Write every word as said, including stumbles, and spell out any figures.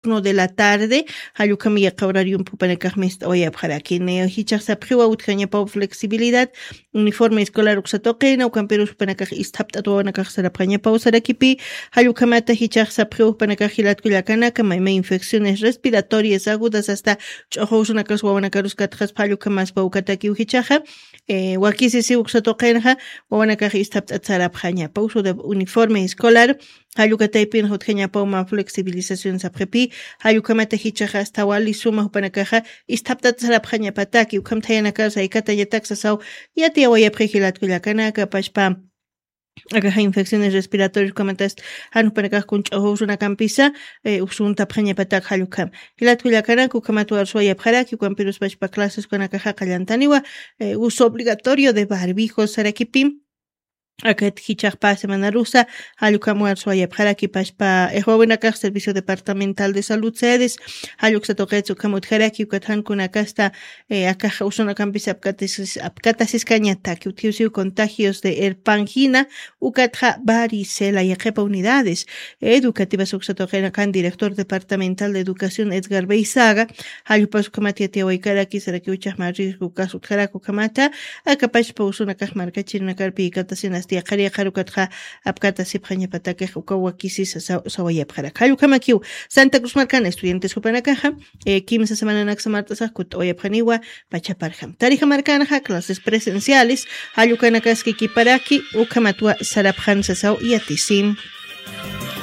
turno de la tarde, jallukam yaqawrarium pupanakax mist'awayapxarakin. Jichax sapxiwa utjañapaw flexibilidad, uniforme escolar uksatoqina ukampirus pupanakax istapt'at wawanakax sarapxañapaw sarakipi. Jallukamata jichax sapxiw pupanakax jilatkullakanaka mayma infecciones respiratorias agudas hasta ch'oxowsunakas wawanakarus katxaspa jallukamaspa ukatakiw jichaxa. Wakisisi uksatoqinxa wawanakax istapt'at sarapxañapaw uso de uniforme escolar. Jallukataypin jutjañapaw ma flexibilización sapxipi. Jallukhamata jichaxa asta wali suma jupanakaxa istapt'at sarapxañapataki ukham thayanakar saykatañatak sasaw. Yatiyawayapxi jilatkullakanaka pashpa akaxa infecciones respiratorias ukhamatast jan jupanakax kun ch'oxowsunakampisa. Usuntapxañapatak jallukham jilatkullakanak ukhamat warsuwayapxaraki ukampirus pashpa clases ukanakaxa qallantaniwa uso obligatorio de barbijo sarakipi. Akat jichhaxpa semanarusa jallukam warsuwayapxaraki pashpa ixwawinakax servicio departamental de salud sedes. Jalluksa tuqitsa ukham utjaraki ukat jankunakasta akax usunakampis apkatasiskañataki utjiwsiw contagios de erpangina ukatxa varicela yaqhipa unidades educativas uksa tuqinakan director departamental de educación edgar beisaga. Jallupas ukhamat yatiyawaykaraki sarakiw chajma riesgo ukas utjaraki ukhamata. Akapachpa usunakax markachirinakar piykatasinasti yaqhari yaqhar ukatxa apkatasipxañapatakix ukaw wakisisa sawayapxarak jallukamakiw. Santa cruz markan estudiantes jupanakaxa kimsa semananaksa mart'asax kutt'awayapxaniwa. Pachaparjam tarija markanxa clases presenciales jallukanakaski kiparaki ukhamatwa sarapxan sasaw yatisim.